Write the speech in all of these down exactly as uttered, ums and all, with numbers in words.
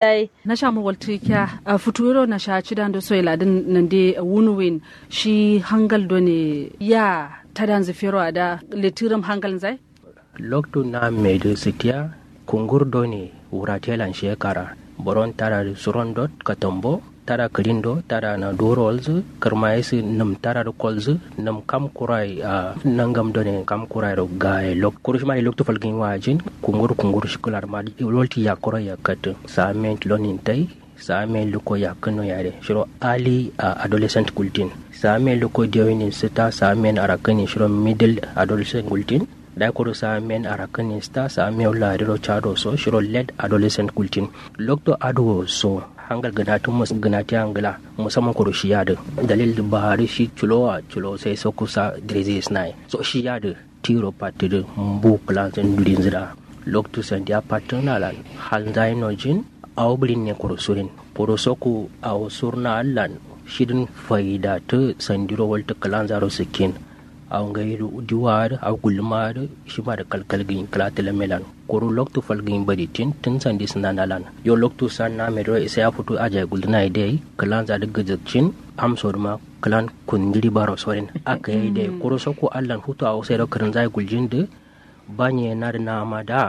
Nasha murwaltǝ kya futuwero nasha cidando soye ladǝn nande wunuwin. Shi hangal done ya tadanzǝ fero ada lettiram hangal nzai. Loktu na medǝ sitiya kungur done wuratelan shekara boron tadadǝ surondot katambo tada kǝlindo tada na duro walzǝ kǝrma yisǝ nǝm tadadǝ kolzǝ nǝm kam kurai a nangam done kam kurai ro gaye lok kuru shima loktu falgin wajin kungur kungur shikular ma. Lolti yakkuro yakkatǝ samen lonin tai samen luko yakkǝno yare shiro ali a adolescent gultin samen luko dewinin sita samen arakǝnin shiro middle adolescent gultin. Dai kuru samen arakǝnin sita samen lariro chado so shiro late adolescent gultin. Lokto aduwo so hangal gǝnatǝ mus gǝnatǝ angla musamman kuru shiyadǝ dalil dǝ bahari shi culowa culo sai so kusa dirizi isnaye so shiyadǝ tiro pattǝdǝ mbu kǝlanzǝn dulinzǝ da. Loktu sandiya pattǝna lan halnzayi nojin awo bǝlin ne kuru surin kuru soku awo surna allan shidin faidatǝ sandiro waltǝ kǝlanzaro sǝkkin. Awo ngai diwa adǝ awo gulluma adǝ shima dǝ kalkal gǝnyi kǝla tǝlamme lan kuru loktu fal gǝnyi baditin tǝn sandi sǝnana lan. Yo loktu sanna mediro isaya futu ajayi guldǝna ye dai kǝlanza dǝ gǝzǝkcin amso dǝma kǝlan kunjiri baro sorin. Aka ye dai kuru soku allan futu awo sairo kǝrǝnza ye guljin dǝ banye nadǝ nama da.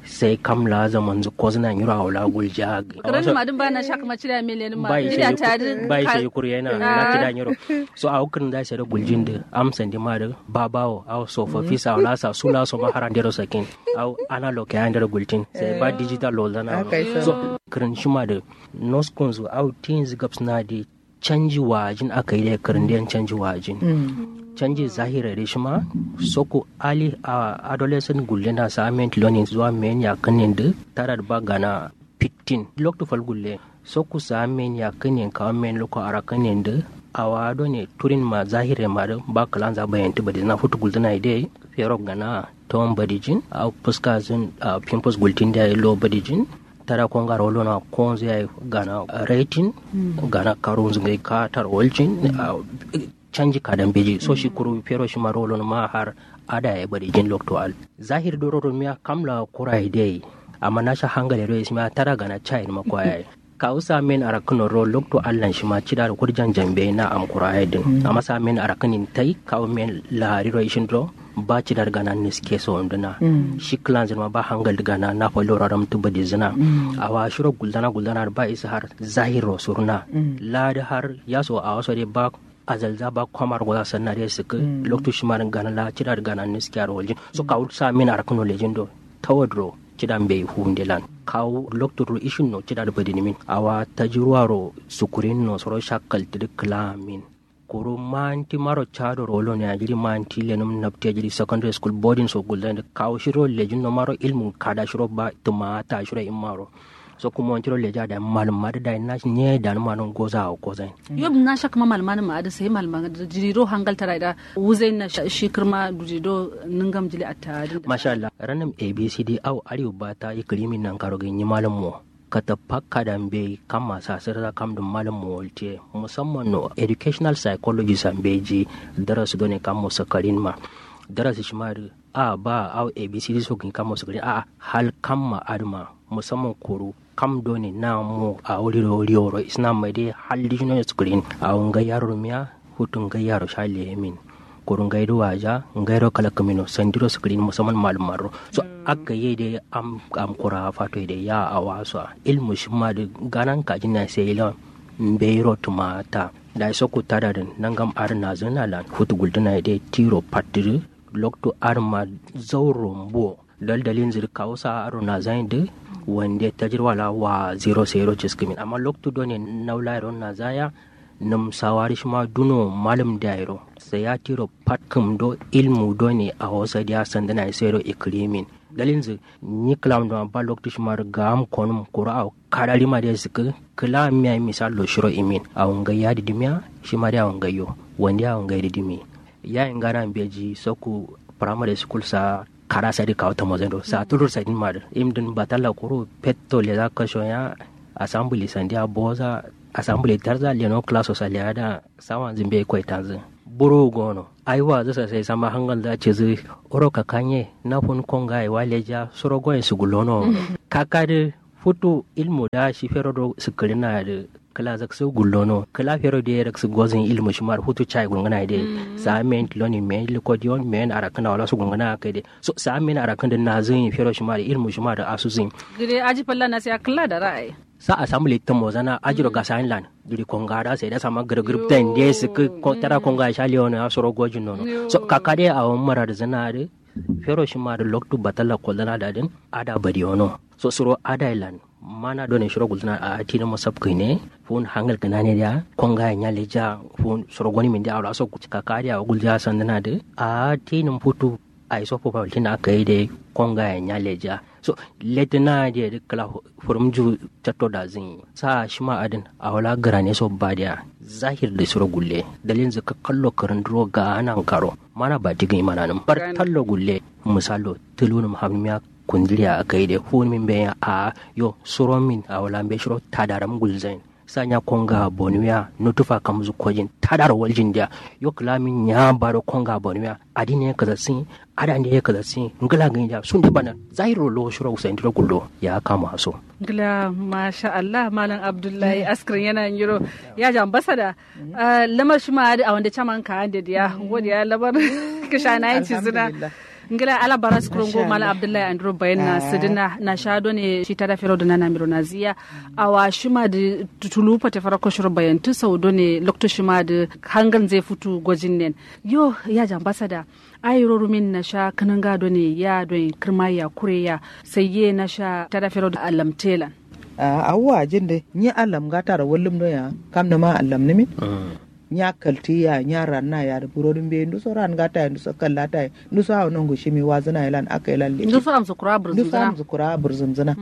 Sai kam la zamanzǝ kozǝna nyiro awo la gulja. Kǝrǝn ma dǝn ba na shak ma cida mele nǝn ma bai cida sai ta dǝn bai sai kuru yana na cida nyiro. So awo kǝrǝn zai sai da guljin dǝ am sandi ma dǝ babawo awo sofofi sa awo la sa sula so ma haran dero sakin. Awo analog ya ndero gultin sai ba digital lo zana. So kǝrǝn shima dǝ noskunzu awo tinzu gabsna dǝ canji wajin aka yi dai kǝrǝn dai canji wajin. Canji zahira dai shima soko ali a adolescent gullena sa amen tilonin zuwa men ya kǝnin dǝ tarar ba gana fittin loktu fal gulle. Soko sa men ya kǝnin kawo men loko ara kǝnin dǝ awa done turin ma zahira ma dǝ ba kǝlanza bayan tǝ badizina futu gulzina yi dai fero gana tawon badijin a fuska zin a pimples gultin dai lo badijin. Tada kongaro lona konzu yayi gana rating gana karunzu ngai katar waljin. Canji kadan beji so shi kuru fero shi maro lona ma har ada yayi bari jin lokto al zahir doro rumiya kamla kura yayi dai. Amma nasha hangale do ismiya tada gana chayin ma kwa yayi. Kawu sa men arakun ro lokto allan shima cida da kurjan jambe na am kura yayi din amma sa men arakun in tai kawu men lahari ro ishin ro. Ba cidar gana niske so nduna. Shi kǝlanzǝ ma ba hangal gana na falo raram tǝ badizǝna. Awa shiro gulzana gulzana ba isa har zahiro surna. Ladi har yaso awa so dai ba azalza ba kwamar goza sanna dai sǝkǝ loktu shima dǝn gana la cidar gana niske aro waljin so kawu sa min arakǝno lejin do. Tawadro cida mbeyi fu ndelan kawu loktu ro ishin no cidar badinimin awa tajiruwa ro sukurin no soro shakkal tǝdǝ kǝlamin. Kuru manti maro chado rolo ne ajiri manti lenum napti ajiri secondary school boarding so gulden kawo shiro lejin no maro ilmu kada shiro ba tuma ta shiro in maro. So kuma wanti ro leja da malum madu da na nye da ma non goza o goza. Yo na shak ma malum madu ma adu sai malum madu jiri ro hangal tara da wuzai na shi kirma duri do ningam jili atta din. Masha Allah ranum abcd au ariu bata ikirimi nan karo gin yi malum mo. Kata pakka da mbeyi kamma sasǝrǝ za kamdǝ malǝm mo waltiye musamman no educational psychologist a mbeji. Darasu done kammo sakarin ma darasu shima dǝ a ba au abcd so gǝnyi kammo sakarin a hal kamma adǝ ma musamman kuru kam done na mo awo riwo riwo ro isna mai dai hal dǝ shino sakarin awo ngai yaro rumiya. Futu ngai yaro sha leyemin kuru ngai dǝ waja ngai ro kala kǝmino sandiro sǝkǝrin musamman malum marro. So akka ye dai am am kura fato ye dai ya awa so a ilmu shima dǝ ganan kajin na sai ila mbeyi ro tuma ta. Dai so kutta da dǝn nangam adǝ nazǝna lan futu gultuna ye dai tiro pattǝ dǝ loktu adǝ ma zauro mbuwo. Dal dalin zǝ dǝ kawu sa aro nazayin dǝ wande tajirwa la wa zero sai ro ciskǝmin amma loktu done naulaye ro nazaya. Nǝm sawari shima duno malǝm dayiro sai ya tiro pat kǝm do ilmu done awo sadiya sandǝna ye sairo ikǝrimin. Dalilnzǝ nyi kǝlam duma ba loktu shima dǝ ga'am konǝm kuru awo kadari ma dai sǝkkǝ kǝla miya ye misal lo shiro imin awo ngai ya dǝ dǝmiya. Shima dai awo ngai yo wande awo ngai dǝ dǝmi. Yayi ngana mbeji sokku primary school sa kada sadi kawu tamozai do sa tulur sadin ma dǝ im dǝn batalla kuru petto leza kasho ya. Assembly sandiya boza assembly tarza leno class so saliya da sawanzǝ mbeyi koitanzǝ. Buro gono ai wazǝ sasai sama hangalza cizǝ. Uro kakanye na fun kongaye wa leja suro goyen sugullono. Kakadǝ Futu ilmu da shi fero do sǝkkǝrǝna dǝ kǝla zaksu gullono kǝla fero de raksu gozin ilmu shima dǝ futu chai gulngana de. Sa men tiloni men likodiyon men arakana wala su gulngana kai de. So sa men arakana dǝ nazin fero shima dǝ ilmu shima dǝ asusin. Gide aji falla na sai akalla da ra'ayi. Sa assembly tǝmozana ajiro gasayin lan. Duri konga da sai da sama gǝrgǝrgǝp ta inde sǝkkǝ tara konga sha leono ya soro gojin nono. So kaka de awon mara dǝ zana dǝ fero shima dǝ loktu batalla kollana da dǝn ada badiyono. So suro ada ilan mana done shiro gulzana a tinin musab kine. Fun hangal kina ne dia konga ya nyale ja. Fun suro goni min dia awla so kaka dia gulja sandana de a tinin futu. Ai so popa ultina kai de konga ya nyale ja. So letina dia de kala furumju chatto da zin sa shima adin awla grane so badia. Zahir de suro gulle dalin zaka kallo karanduro ga anan karo mana ba digin mana nan bar tallo gulle. Misalo tulunum hammiya kundiriya akai de fun min be a yo suro min awla be shiro tadaram gulzain. Sanya konga bonuya nutufa kamzu kojin tadar waljin dia. Yo kla min nya baro konga bonuya adine kaza sin. Ada ne kaza sin ngla gin dia sun de bana zairo lo shiro usain diro gullo ya kama so. Ngla masha Allah malam abdullahi askrin yana nyiro ya jambasada. Lamar shima adi awande chaman ka ande dia wodi ya lamar kishana yin cizina. Ngila ala bara sukuro ngo mala abdullahi andro bayan na sidina na sha done shi tada fero dona na miro na ziya. Awa shima di tutulu pate fara koshoro bayan tu sau done lokto shima di hangal nzai futu gojin nen. Yo ya jambasada ayi rorumin na sha kananga done ya don kirma ya kure ya sai ye na sha tada fero da alamtelan. Awwa jin de nyi allam ngataro wallum do ya kam nama allam nimin. Nya kalti ya nya ranna ya da burodin be nduso ran gata ya nduso kallata ya nduso awo nongu shimi wazina ya lan aka ya lan leke. Nduso amsu kura burzum zina.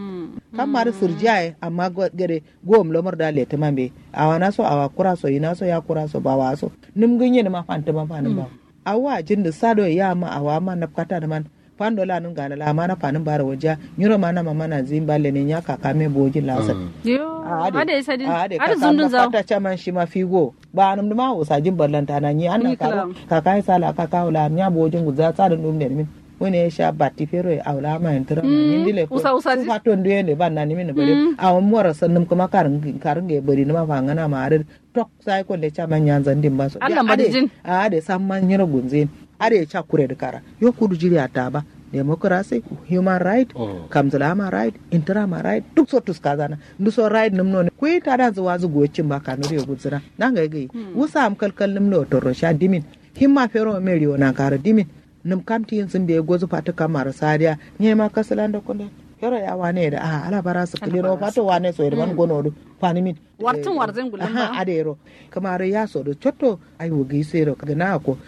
Kam mari sirjiya ya amma gade gowom lamar da lete man be awa naso awa kura so yi naso ya kura so ba wa so. Num ginye numa fanti man fanin ba. Awa jin da sado ya ma awa ma nafkata da man. Fando la nun gana la mana fanin bara wajiya nyiro mana mamana zin balle ne nya kaka me bojin la sa. Yo ade sadin ade kaka zundun zawo. Fata chaman shima figo ba anum duma usa jin ballanta na nyi annan karo kaka ya sala kaka wala nya bojin guza sa dun dum ne min. Wone sha batti fero ya awla ma intira ma nyi dile ko usa usa fato ndu yende ban na nimin bare. Awon mora sannum kuma karin karin ga bari numa fangana ma arid. Tok sai konde chaman nyanzan dimba so Allah madijin. Ade samman nyiro gunzin. Ade cha kure da kara yo kudu jiri ata ba. Democracy, human right, kamzulama right, intrama right duk so tuska zana. Ndu so right num no ne kuyi ta da zuwa zu gocin ba kanuri ya guzuna. Nan ga gai wusa am kalkal num no toro sha dimin. Himma fero meriyo nan kara dimin. Num kam ti yin sun be gozu fatu kamar sadiya. Nye ma kasulan da kunde fero ya wane da a ala bara su kulino fatu wane so irman gono du. Fanimin wartin warzin gulin ba adero. Kamar ya so do chotto ai wugi sero gana ko.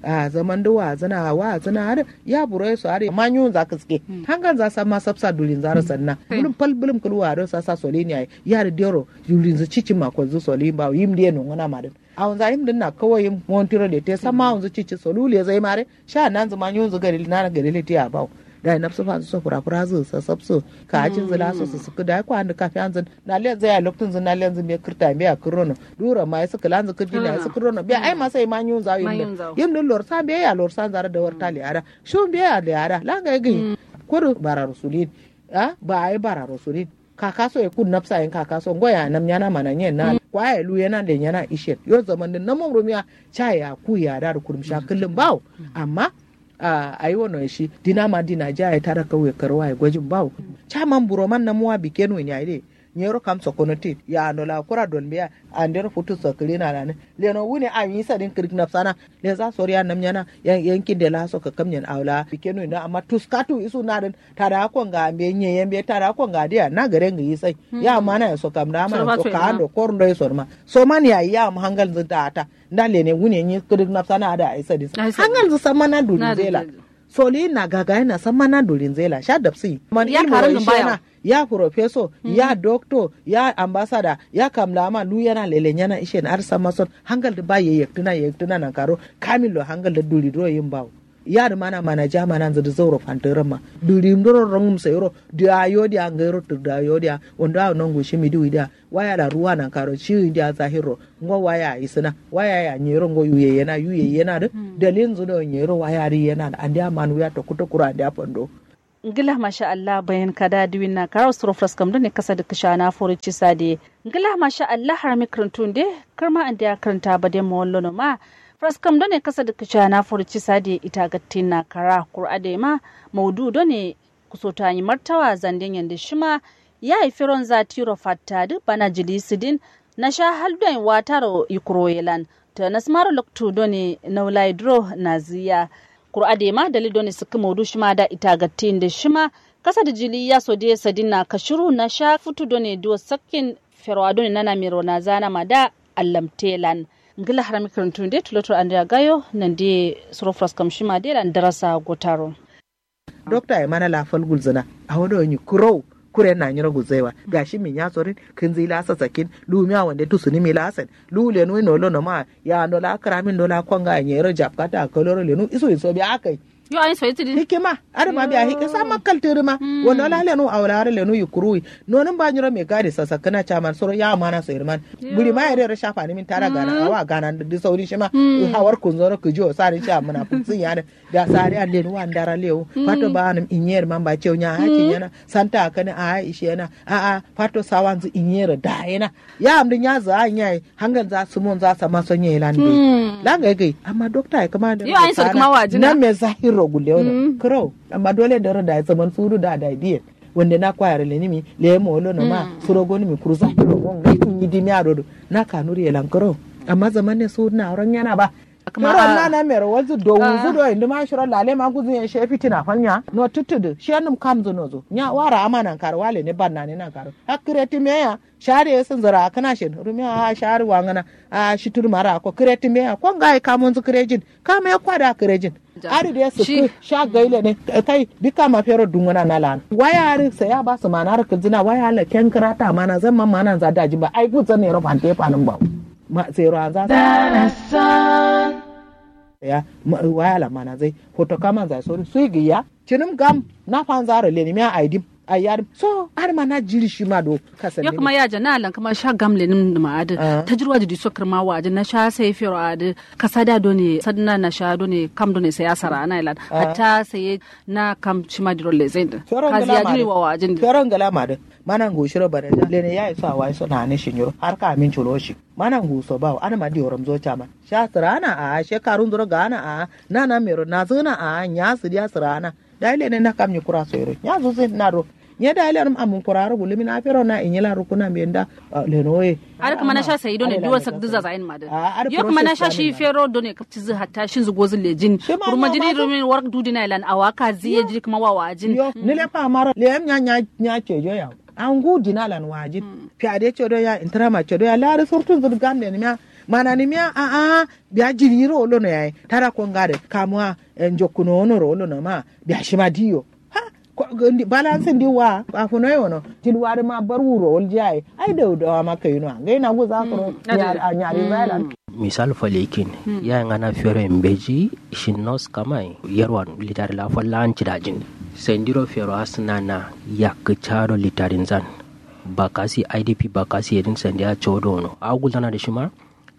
A zaman da wazana wazana ada ya buro so ada ma nyun za kiske. Hangan za sa ma sapsa dulin za rasanna bulum pal bulum kulwa do sa sa solini ai ya da dero. Dulin zu cici ma ko zu solin ba yim de no ngana ma din. Awunza yim din na kawai yim montiro de te samma awunzu cici solu lezai mare. Sha nanzu ma nyunzu gari nana gari leti ya bawo. Dai nafsu fanzu so fura fura zu sasapsu ka ajin zu laso su suku dai ko andu kafi anzu. Na lenzu ya loktu zu na lenzu mbe kirta mbe ya kirono dura ma yasu kilanzu kirdi na yasu kirono mbe ai ma sai ma nyunza yim din lorsa mbe ya lorsa zara da warta le ada. Shu mbe ya le ada la ga gi. Kudu bara rusulin. A ba ai bara rusulin. Kakaso ye kun nafsa yen kakaso ngo ya nam nyana mana nyen na kwa ye lu yena le nyana ishen yo zaman din namum rumiya. Cha ya ku ya da kurum sha kullum bawo. Amma a ayi wono ye shi dina ma dina ja ye tara kauye karwa ye gojin bawo. Cha man buro man namuwa bikenu nya ide. Nyero kam sokono ti ya no la kura don biya. Andero futu sokiri na lani leno wuni a yi sadin kirik nafsana. Lenza soriya nam nyana yankin de la so kakam nyen awla bikenu ina amma tuskatu isu nadin. Tada konga mbe nye yembe tada konga dia na gare ngi isai. Ya mana ya so kam da mana so ka ando kor ndo iso ma so man ya ya am hangal zin ta ata. Nda lene wune nyi kidik nafsa na ada ai sadis hangal zin samma na dulin zela. Soli na gaga na samma na dulin zela sha dapsi man ilmo ishena. Ya professor ya doctor ya ambassador ya kamla ma lu yana lele nyana ishen ar samma son hangal da ba ye yektina yektina nan karo kamilo hangal da duli dro yin bawo. Yadǝ mana mana ja mananzǝ dǝ zauro fantǝgǝrǝmma. Dǝ rimdǝro rongǝm sayiro dǝ ayo diya ngairo tǝgdǝ ayo diya wando awo nongu shimi dǝ widiya. Waya la ruwa nankaro shiwi diya zahirro. Ngo waya isǝna waya ya nyero ngo yu yeyena yu yeyena dǝ. Dalilnzǝ do nyero waya dǝ yena dǝ andiya man wiya tokku tokkuro andiya fando. Ngla masha allah bayan kada diwin na kara suro fraskam done kasa da kishana fori cisa de. Ngla masha allah harami krintu nde. Kirma andiya krinta bade mawallo no ma fraskam done kasa da kishana fori cisa de ita gattin na kara kur'a de ma maudu done. Kusoto anyi martawa zande nyande shima. Yayi feron za tiro fatta du bana jili sidin. Nasha hal done wataro yikuro yelan. To nasmaro loktu done naulai duro naziya. Kuru adema dalil done sikki maudu shima da ita gatti inde shima. Kasa da jili yaso de sadin na kashiru nasha futu done duwo sakkin. Ferwa done nana miro nazana ma da allamtelan. Ngila harami kirintu nde tuloto andiya gayo nande. Suro fraskam shima de lan darasa gotaro. Dokta ye mana la fal gulzǝna. Awo do nyi kuro. Kure na nyiro gulzaiwa gashi min ya sorin. Kinzi la sasakin. Lumi a wande tusuni mi la sen. Lu lenu ino lo no ma. Ya ndo la karamin do la konga nyero japkata kaloro lenu isu iso bi akai. Yo ayin soyi tidi hikima. Adǝ ma biya hikima sa makkal tǝrǝ ma. Wando la lenu awla adǝ lenu yukuru wi. Nonǝm ba nyiro me gadi sasakkǝna caman soro ya mana soyi man. Buri ma yare ro shafa ni min tara gana awa gana dǝ sauri shima. Hawar kunzoro kǝjiyo sari sha muna kunzin yare. Da sari a lenu wa ndara lewu. Fato ba anǝm inyer man ba cew nya hakin yana. Santa akani a ishe yana. A a fato sawanzu inyer da yana. Ya amdǝ nya za a nya yi hangal za sumon za sama so nya yi lan gai. Lan gai gai amma dokta ya kama da yo ayin sori kama wajin na me zahiro gulle wono kuro. Amma dole da ro da zaman sudu da da diye. Wande na kwayar lenimi lemo wolo no ma. Suro gonimi kuru zahiro gon gai inyi dimi a dodo. Na kanuri ya lan kuro. Amma zaman ne sudu na auren yana ba. Kama kero a- na na mero walzu do wuzu do indi ma shiro lale ma guzun ya she fitina fal nya no tuttudu she num kamzu nozu nya wara ama nan karo wale ne banna ne nan karo. Hakkire ti meya. Shari ye sǝnzǝra kǝna shin rumiya a shari wangǝna. A shi turmara ko kǝre tǝmbeya ko ngayi kamunzǝ kǝrejin. Kame kwada kǝrejin. Adǝ de sǝkkǝ sha gaile ne. Kai dukka ma fero dungǝna na lan waya adǝ sai a ba sǝmana rǝ kǝlzǝna waya ala kenkǝra tamana zan man mananza dajin ba ai guzan nero fante fanǝm bawo. Ma sero anza. Ya waya ala mananzai. Foto kamanza sori sui gǝya. Cǝnǝm gam na fanza ro lenimiya aidim. Ayyarim so adǝ ma na jiri shima do. Kasan yo kǝma yaja na lan kǝma sha gam lenǝm nǝma adǝ tajirwa jidi so kǝrma wajin na sha sai fero adǝ. Kasada done sadna na sha done kam done sai asara ana ilan hatta sai na kam shima diro lezain dǝ. Kazi ya jiri wa wajin dǝ. Fero ngala ma dǝ. Mana ngu shiro baraja lene yayi so awayi so nane shinyiro har ka amin culo shi. Mana ngu so bawo adǝ ma dioram zo caman. Sha sǝrana a she karun zuro gana a. Nana mero nazǝna a nya sǝdiya sǝrana. Dayi lene na kam nyi kura soyiro nya zuzi na ro. Nye dayi lenum amun kura ro gulumi na fero na inyi la rukuna mbe nda. Leno ye. Adǝ kǝma na sha sayi done duwar sak dǝza zayin ma dǝ. Yo kǝma na sha shi fero done kapci zǝ hatta shin zǝ gozǝ lejin. Kurma jiri rumin warak dudina ilan awa kazi ye jiri kǝma wawa jin. Yo nile fa maro leyam nya nya nya cejo ya. Angu dina lan wajin. Fiade cedo ya intrama cedo ya lari surtun zǝ gam lenimiya. Mananimiya a a. Biya jiri ro wolo no yayi tada konga dǝ kamuwa. Njokkuno wono ro wolo no ma biya shima diyo. Ha. Balansi ndi wa afuno yono tilwa dǝ ma bar wuro wol jayi ai dau dawa ma kayino a ngai na guza kuro. Nyari zalan. Misal falikin yayi ngana fero mbeji shin nos kamai yarwan litari la falla an cidajin. Sandiro fero asna na yakkǝ cado litarin zan. Bakasi idp bakasi yedin sandiya codo wono a gulzana dǝ shima.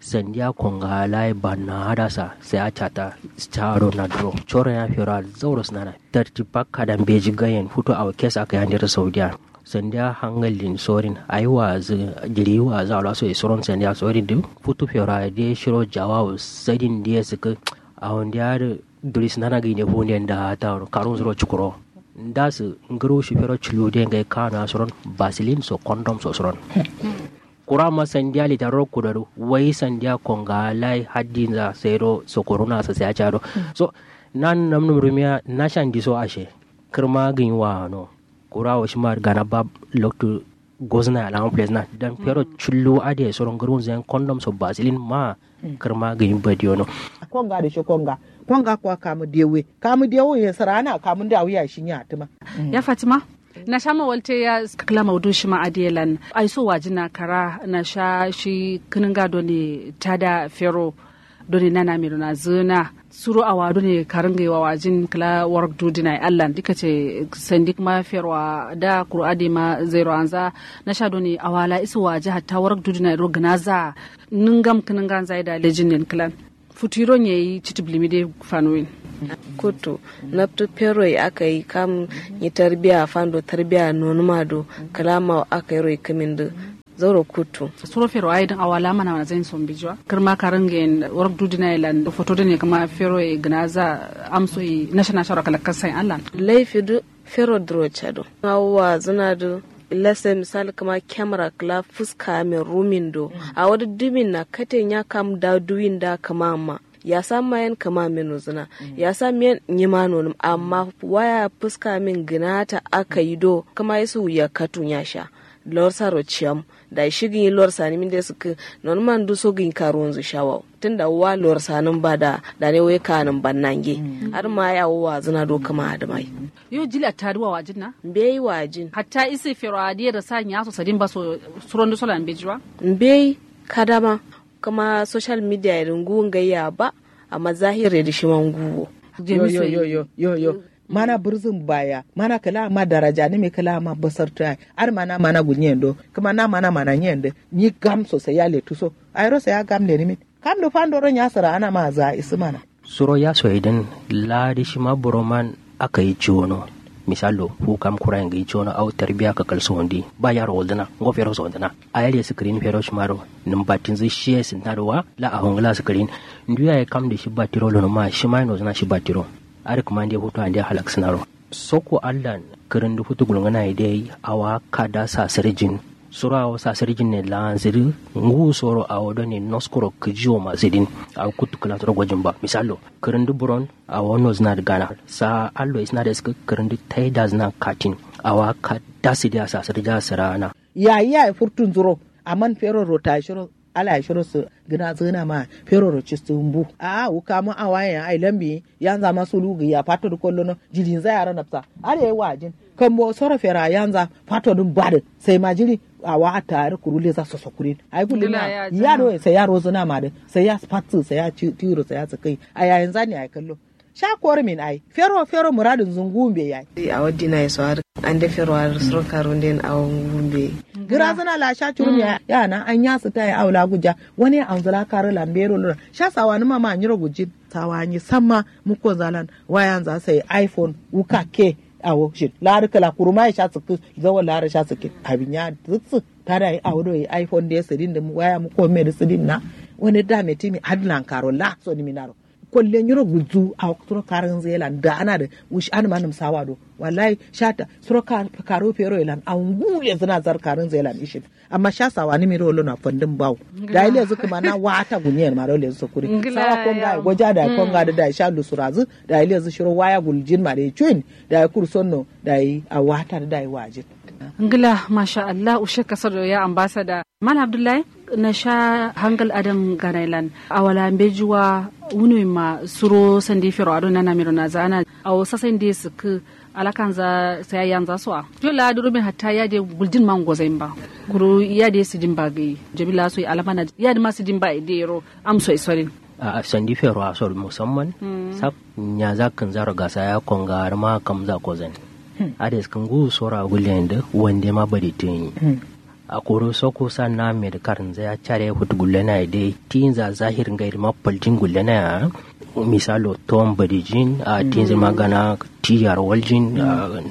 Sandiya konga layi banna adasa sai a cata. Cado na duro coro ya fero a zauro sǝnana. Tarti bakka da mbeji gayen futu awo kes aka yandero saudiya. Sandiya hangal din sorin ayi wazǝ jiri wazǝ awo laso ye soron sandiya sorin dǝ. Futu fero a de shiro jawawu sadin diye sǝkǝ. Awo ndiya dǝ duri sǝnana gǝyi ne fuwun den da tawuro karun suro cukuro. Ndasǝ ngǝru shi fero culu de ngai kano ya soron. Basilin so kondom so soron. Kura ma sandiya litaroro kudodu wai sandiya konga lai haddinza sairo sokoruna sasai acado. So nan namnum rumiya nashan diso ashe. Kǝrma gǝnyi wano kura wo shima gana ba loktu gozna alama plezna dan fero cullu ade soro ngurun zen kondom so basilin ma. Kǝrma gǝnyi badiyono. Konga de shi konga konga kwa kamu dewe kamu dewe ye sarana kamu dawiya shi nya tuma. Ya fatima. Nasha ma walte ya kǝla maudu shima adiyelan aiso wajina kara nasha shi kǝnǝnga done tada fero. Done nana miro nazǝna suro awa done karǝngai wawajin kǝla warak dudina ye allan dikate. Sandi kǝma ferwa da kuru adema zairo anza nasha done awala isu waji hatta warak dudina ye ro gǝnaza. Nǝngam kǝnǝnganza ye da lejin nen kǝlan. Futu yiro nyeyi citǝb limi de fanuwin. Kuttu nabtu fero ye aka yi kam. Nyi tarbiya fando tarbiya nonuma do kǝlama aka yiro yi kǝmin dǝ. Zauro kuttu. Suro fero ayi dǝn awala mana mana zain sombijuwa kǝrma karǝnge yen. Warok dudina ye lan foto dǝne kǝma fero ye gǝnaza amso ye nasha nasha ro kalakka sai allan. Laifi dǝ fero dǝro cado awo wazǝna dǝ. Lase misal kǝma kemra kǝla fuska amin rumin do. Awo dǝ dumin na kate nya kam da duwin da kǝma amma. Yasa mayen kǝma menu zǝna. Yasa miyen nyima nonum amma waya fuska min gǝnata aka yi do kǝma yesu wuya katu nyasha. Lorsaro ciyam. Dayi shigǝnyi lorsani min de sǝkkǝ. Nonuma nduso gǝnyi karuwanzǝ shawawo tunda wa lorsanǝm ba da dane wai kanǝm ban nange. Adǝma yawo wazǝna do kǝma adǝma yi. Yo jili atta dǝ wa wajin na? Mbeyi wajin. Hatta isi fero adǝ ye dǝ sa nyaso sadin ba so. Suron dǝ sola mbeji wa? Mbeyi kadama. Kǝma social media ye dǝ nguwu ngai ya ba. Amma zahir ye dǝ shima nguwu wo. Yo yo yo yo yo yo. Mana bǝrzǝn baya mana kǝla amma daraja nǝmi kǝla amma basartu yayi. Adǝ mana mana gulnyen do kǝma na mana mana nyen dǝ. Nyi gam so sai ya letu so. Ayiro sai ya gam lenǝmin. Kam dǝ fandoro nya sǝra ana ma za isǝ mana. Suro yaso ye dǝn. Laa dǝ shima buroman aka yi ciwono. Misallo fu kam kura ye ngai ciwono au tarbiya kakal sowondi. Ba yaro woldǝna ngo fero sowoldǝna. Ayal ye sǝkǝrin fero shima do. Nǝm battinzǝ shi ye sǝnta do wa la awo ngǝla sǝkǝrin. Ndu yaye kam dǝ shi battiro lono ma shima ye nozǝna shi battiro. Adǝ kǝma nde futu ande halaksǝna ro. Soko allan kǝrǝndǝ futu gulngǝna ye dai. Awa kada sasǝrjin. Suro awo sasǝrjin ne laanzǝ dǝ. Nguwu soro awo done noskoro kǝjiwo ma sǝdin. Awo kuttu kǝla soro gojin ba misallo. Kǝrǝndǝ buron awo nozǝna dǝ gana sa allo isǝna dǝ ǝskǝ kǝrǝndǝ taidazǝna katin. Awa kada sǝdiya sasǝrja sǝraana. Yayi yayi furtunzǝ ro. Amman fero ro tayi shiro. Ala ye shiro sǝ gǝnazǝna ma. Fero ro cistǝ mbu. A'a wukamu awayen ai lambi yanza ma sulu gǝya fatto dǝ kollono. Jilinza yaro nabsa. Adǝ ye wajin. Kambo soro fera yanza fatto dǝn badǝ. Sai ma jiri. Awa atta adǝ kuru leza soso kurin ai gullin na. Yado ye sai ya rozǝna ma dǝ. Sai ya fatsǝ sai ya tiwuro sai ya sǝkkai. Ayayin zani ai kallo. Sha korumin ai fero fero muradin zungu mbe yayi. Awo dina ye so har ande fero har suro karu nden awo ngu mbe. Grazana la sha curum ya ya na anya sita ya awo la guja. Wane anzula karu la mbero lura sha sawa numa ma nyiro gujin. Sawa nyi samma muko zalan wayan za sai iphone wuka ke. Awo shin lari kala kuruma ya sha tsiki. Zawo lari sha tsiki. Abin ya tsitsi. Tada yi awo do yi iphone de sidin dum waya muko me de sidin na. Wane da me timi adlan karo la so ni minaro. Kolle nyiro gulzu awo suro karunzǝ ye lan da'ana dǝ. Wush anǝma nǝmsawa do. Wallahi shata suro karu fero ye lan awo ngu lezǝna zar karunzǝ ye lan ishin. Amma sha sawa nǝmi do lona fandǝm bawo. Dayi lezǝ kǝma na wata gulnyen ma do lezǝ sokuri. Sawa konga ye goja dayi konga dǝ dayi sha lusurazǝ. Dayi lezǝ shiro waya guljin ma dayi cuyin. Dayi kursonno dayi awata dǝ dayi wajin. Ngla masha allah ushe kasado ya ambasada. Mana abdullahi. Na sha hangal adam ganailan awala mbeji wa. Wunuwin ma suro sandi fero ado nana miro na zana awo sasai nde sukku. Alakanza sai yanza so a. Yo la durumin hatta ya de guldin ma ngozain ba. Kuru ya de sidin ba gai. Jamila so alama na ya de ma sidin ba de ro. Am so isorin. A sandi fero a so musamman. Sab nyaza kanza ro gasa ya konga har ma kamza kozan. Ades kangu sora gulen de wande ma bari tuni. Akuru soku sanna medkar nzaya care futu gullena ye dai tinza zahir ngai ma paltin gullena ya. Misalo tom badijin a tinza ma gana tiyar waljin.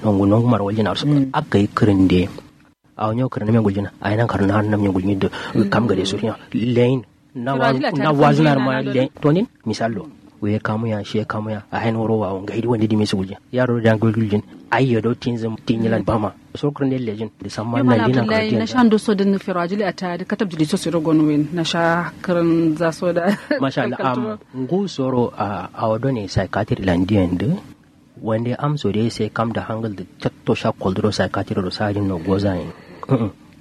Nongu nongu mar waljin arsu. Akai kirin de. Awo nyo kirin me guljin. Ai nan karna nan me guljin de. Kam gade su ya lein. Na wazna ma lein tonin. Misallo. Wuye kamuya shiye kamuya a hain wuro wawo ngai di wande dimi su guljin. Yaro da gulguljin. Ai yodo tinzin tinyilan bama. Sokron de lejin. Samma nan dina abdullahi na sha ndo so din fero ajili ata de katab jili so siro gonu wen na sha kirin za so da. Masha allah am ngu soro a awo done psychiatry landiyan de. Wande am so de sai kam da hangal de chatto sha koldro psychiatry ro sadin no gozayin.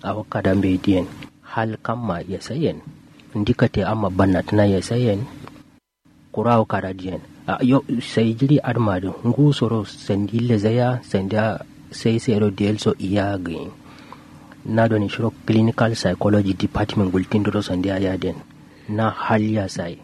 Awo kada mbe diyen. Hal kamma yesayen. Ndikate amma bannatǝna yesayen. Kura awo kada diyen. Yo sai jiri adǝma dǝ ngu soro sandi lezaya sandi a sai sai ro diyel so iya gǝyin. Na done shiro clinical psychology department gultin duro sandi a yaden. Na hal ya sai.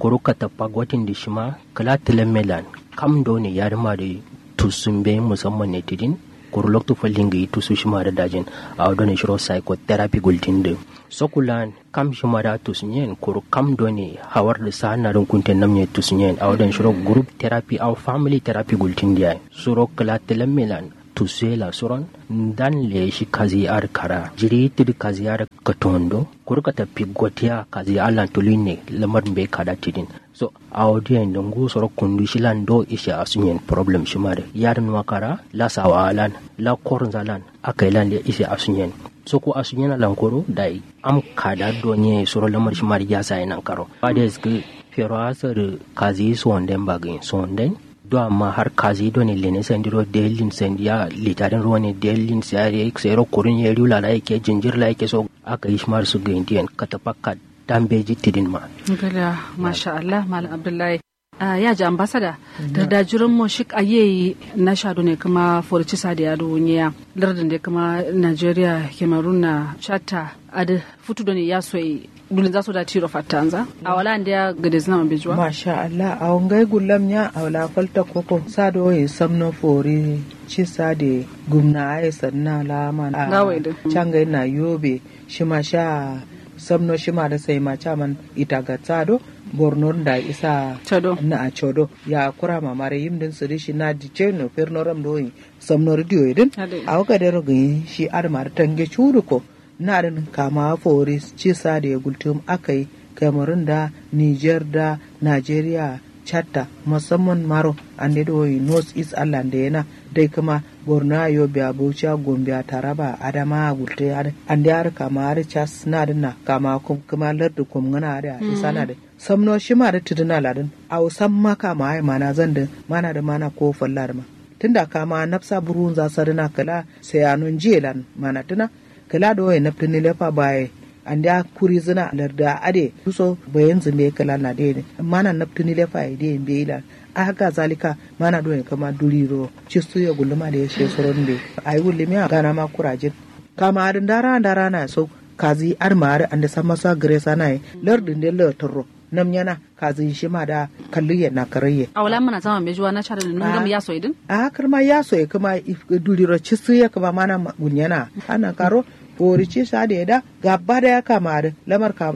Kuru katappa gotin dǝ shima kǝla tǝlamme lan. Kam done yadǝma dǝ tusumbe musamman ne tidin. Kuru loktu fallin gǝyi tusu shima dǝ dajin. Awo done shiro psychotherapy gultin dǝ, sokulan kam shima da tusunyen kuru kam done hawar dǝ sa'an na dǝn kunten namnye tusunyen. Awo done shiro group therapy awo family therapy gultin dǝ yayi. Suro kǝla tǝlamme lan tusuye la suron ndan leye shi kazi adǝ kara jiri tǝdǝ kazi adǝ katondo kuru katappi gotiya kazi allan tulunne lamar mbe kada tidin. So awo diyen dǝ ngu soro kundu shilan do ishe asunyen problem shima dǝ yadǝn wakara la sawa lan la kornza lan akailan le ishe asunyen. So ku asunyen alan koro dai am kada do nye soro lamar shima dǝ yasa ye nankaro ba dai zǝkǝ fero asarǝ kazi sonden bagin sonden. Do amma har kazi do ne lene sandi ro delin sandi ya litarin ro ne delin sai sayro kurun ye riu lala yake jinjir la yake so aka yi shimar su gaindiyan katapakka dambeji tidin ma. Ngala masha Allah malam abdullahi. Ah, ya ji ambassador da da jiran mo shik ayeyi na shado ne kuma forci sadi ado nyeya lardin da kuma nigeria cameroon na chatta adi futu do ne ya soyi dulin za so da tiro fattanza a wala ndiya gade zina ma bejuwa. Masha Allah a wangai gullam nya a wala falta koko sado yi samno fori ci sade gumna ayi sanna lama. Ngawai din cangai na yobe shima sha samno shima da sai ma chaman ita gatsa do borno da isa chodo na a chodo ya kura mamare yim din siri shi na di cheno ferno ram do yi samno ridiyo din. A waka dero gin shi adamar tange chudu ko na din kama fori ci sade gultum akai cameroon da niger da nigeria chatta musamman maro ande do yi north east allah nde yana dai kuma borno a yobe a bauchi a gombe a taraba a adama a gulte ande har kama har chas na din na kama kum kuma lardu kum ngana har a isa na din samno shima da tidina ladin au samma kama ai mana zan din mana da mana ko falla da ma tunda kama nafsa burun za sadina kala sai anon jiye lan mana tuna kǝla do ye nabtǝ nilefa baye ande a kuri zǝna lardǝ a adǝ ye duso bayen zǝmbe kǝla na dǝ ye mana nabtǝ nilefa ye dǝ ye mbeyi lan. Ahaka zalika mana do ye kǝma duri ro cistu ye gulluma dǝ ye she soron mbeyi ayi gullumi a gana ma kurajin kama adǝ ndara ndara na so kazi adǝma adǝ ande samma so a gǝre sana ye lardǝ nde lǝ tǝrro nam nyana kazi shima da kallu ye na kǝrai ye. Awala mana zama mbejuwa na shara nǝm ngam yaso ye dǝn. Aha kǝrma yaso ye kǝma duri ro cistu ye kǝma mana gulnyana ana karo fori ci sade da gabba daya kama dǝ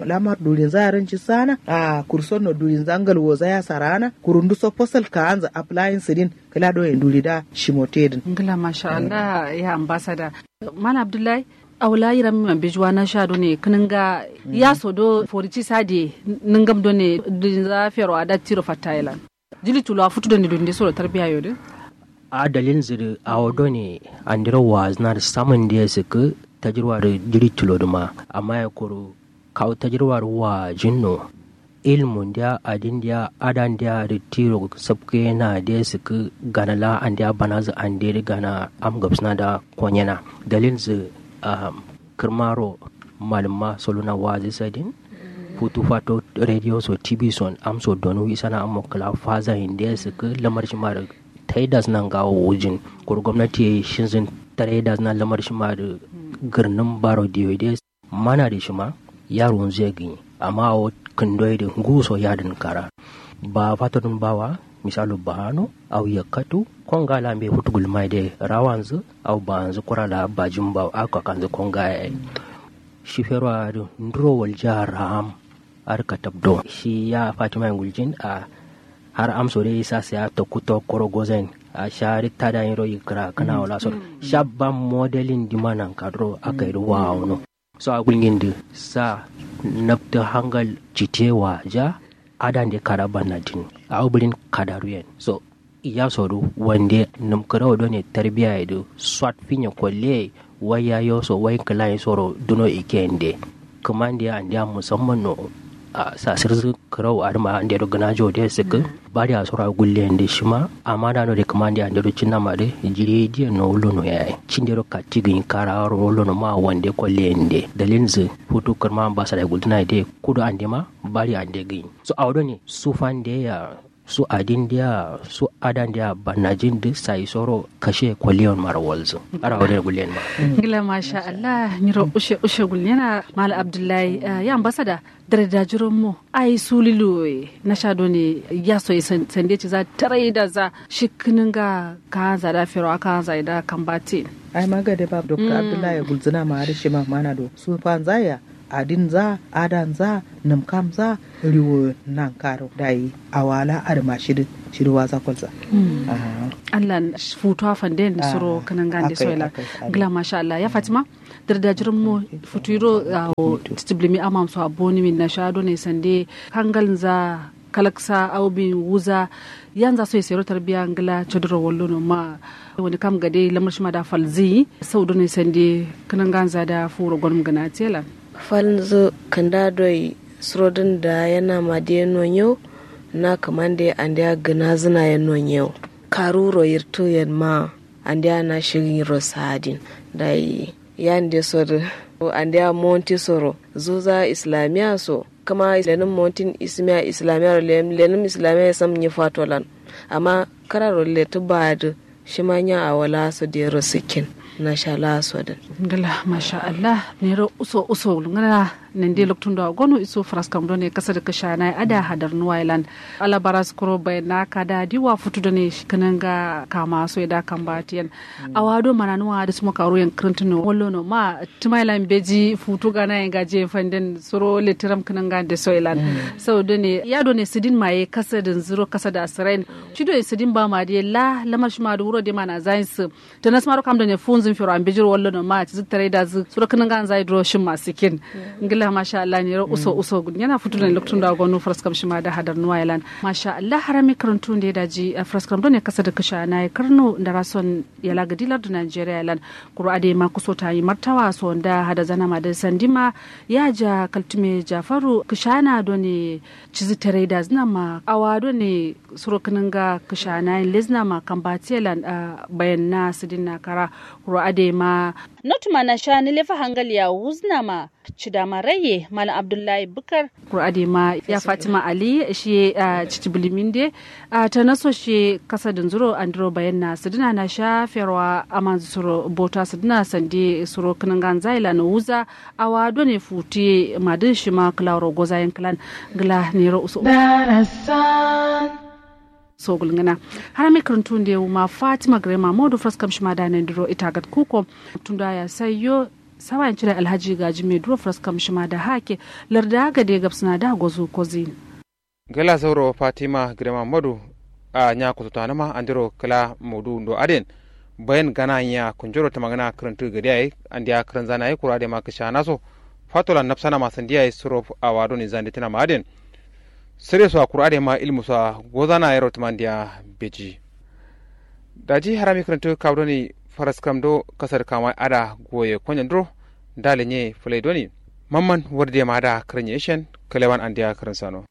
lamar durinza yarin ci sana a kurson no durinza ngalwoza ya sarana kurundu so fosal kaanza applying sidin kǝla do ye duri da shimote dǝn. Ngla masha allah ya ambassador. Mana abdullahi awla yiram ma mbejuwa na sha do ne kǝnǝnga yaso do fori ci sade nǝngam do ne durinza fero ada tiro fatta ye lan. Jili tulo a futu do ne durin de soro tarbiya yo dǝ. A dalil zǝ dǝ awo do ne andiro wazǝna dǝ samǝn de sǝkkǝ tajirwa dǝ jili tulo dǝ ma amma ye kuru kawu tajirwa dǝ wajin no ilmu ndiya adin ndiya ada ndiya dǝ tiro sapkǝ ye na de sǝkkǝ gana la andiya banazǝ ande dǝ gana am gabsǝna da konyena dalil zǝ. Kǝrmaro malǝmma soluna wazi sadin futu fato radio so tv son amso donu isana ammo kǝla faza inde sǝkkǝ lamar shima dǝ taidazǝna ngawo wujin kuru gomnati ye shinzǝn taidazǝna lamar shima dǝ gǝrnǝm baro diyo de mana dǝ shima yarunzu ye gǝnyi amma awo kǝndo ye dǝ nguso yadǝn kara. Ba fatodǝn bawa misalu bahano au yakkatu konga la mbe futu gulmai de rawanzǝ au baanzǝ kura la bajin bawo a kakanzǝ konga yayi. Shi fero adǝ nduro waljiya raham adǝ katab do shi ya fatima ye guljin a har amso de isa sai a tokku tokkoro gozain a sha adǝ tada nyiro yikkǝra kǝna wala so dǝ sha bam modelin dima nankaduro aka yi dǝ wawono. So a gulgin dǝ sa nabtǝ hangal cite waja adande kada bannatin awo bǝlin kadaruyen so. Yaso dǝ wande nǝm kǝrau done tarbiya ye dǝ swat finye kolle ye wai yayo so wai kǝla ye soro duno ike ye nde kǝmande ye andeya musamman no. Sasǝrzǝ kǝrau adǝma ande do gǝnajo de sǝkkǝ bari asoro agulle ye nde shima amma dano de kǝmande ye ande do cinnama de jiri ye diyen no wullono yayi cinde do katti gǝnyi kara aro wullono ma wande kolle ye nde dalilzǝ futu kǝrma ambasada ye gultǝna ye de kudo andema bari ande gǝnyi so awo done sufande ya. Su adin diya su adan diya bannajin duk sai soro kashe kwaliyon mara walzu. Ara wadai gulliyan ma. Ngila masha Allah nyiro ushe ushe gulliyana mala abdullahi. Ya ambasada dare da jiron mu ai su liluwe na sha done ya soyi sande ci za tarai da za shi kinin ga ka hanza da fero aka hanza da kan batin. Ai magade ba dr abdullahi gulzina ma har shi ma mana do su fanzaya adin za adan za namkam za riwo nan karo dai awala arma shiri shiri waza kwalza. Allah futuwa fanden suro kanan gande soila. Gila masha Allah ya fatima dardajirin mu futuro awo titiblimi amam so aboni min na shado ne sande hangal za kalaksa aubin wuza yanza so isero tarbiya ngila chodoro wallo no ma wani kam gade lamar shima da falzi sau done sande kanan ganza da furo gonum gana tela. Falnzu kanda doi surodin da yana madiye nonyo na kamande andiya gina zina ya nonyo karuro yirtu yan ma andiya na shigin ro sadin dai yande soro andiya monti soro zuza islamiya so kama lenin montin ismiya islamiya ro lenim islamiya ya sam nyi fatolan amma kararo letu badu shima nya awala so dero sikin na shala so din. Ngala masha Allah nero uso uso ngana nande loktundo agonu iso fraskam done kasa da kasha na ada hadar nuwailan. Ala baras kuro bai na kada diwa futu done kananga kama so da kambatiyan. Awado mananuwa da suma karu yan krantino wallo no ma tumailan beji futu gana yan gaje fanden suro letiram kananga da soilan. Sau done ya done sidin maye kasa da zuro kasa da asirain. Cido ya sidin ba ma de la lamar shima da wuro de mana zain su. Tanas maro kam da ne funzin firo an bijir wallo no ma ci zuk tarai da zuk suro kanan gan zai duro shin ma sikin. Ngila masha Allah ne ro uso uso gun yana futu da lokacin da gonu fraskam shima da hadar nuwa yalan. Masha Allah harami karantun da ya daji fraskam don ne kasa da kasha na ya karno da rason yala gadilar da Nigeria yalan. Kuro ade ma kuso ta yi martawa so da hada zana ma da sandima ya ja kaltume jafaru kashana don ne cizi tarai da zina ma awa don ne suro kananga kashana yin lezna ma kambatiye lan bayan na sidin na kara. Kuro ade ma notuma na sha ni lefa hangal ya wuzna ma cidama raye malam abdullahi bukar. Kuro ade ma ya fatima ali shi ya citi bilimin de ta naso shi kasa din zuro andiro bayan na sidina na sha ferwa aman suro bota sidina sande suro kananga zai lan wuza awa done futi madin shima kala ro gozayin kalan. Gla nero uso sogul ngana. Harami karantun de wuma fatima grema modu fraskam shima da nan duro ita gat kuko tunda ya sayo sawa yanci da alhaji gaji mai duro fraskam shima da hake larda gade gabsina da gozu kozin. Gala sauro fatima grema modu a nya kututanama andiro kala modu ndo aden bayan gana nya kunjoro tamagana karantu gade ai andiya karan zana ai kura de ma kashana so fatola nafsana ma sandiya ai suro awa doni zandi tana ma aden. Sere so akura ade ma ilmu so gozana yaro tumandiya beji. Daji harami karantu kawo doni faraskam do kasar kama ada goye konyan duro dale nye fulai doni mamman warde ma ada karin yeshen kalewan andiya karin sano.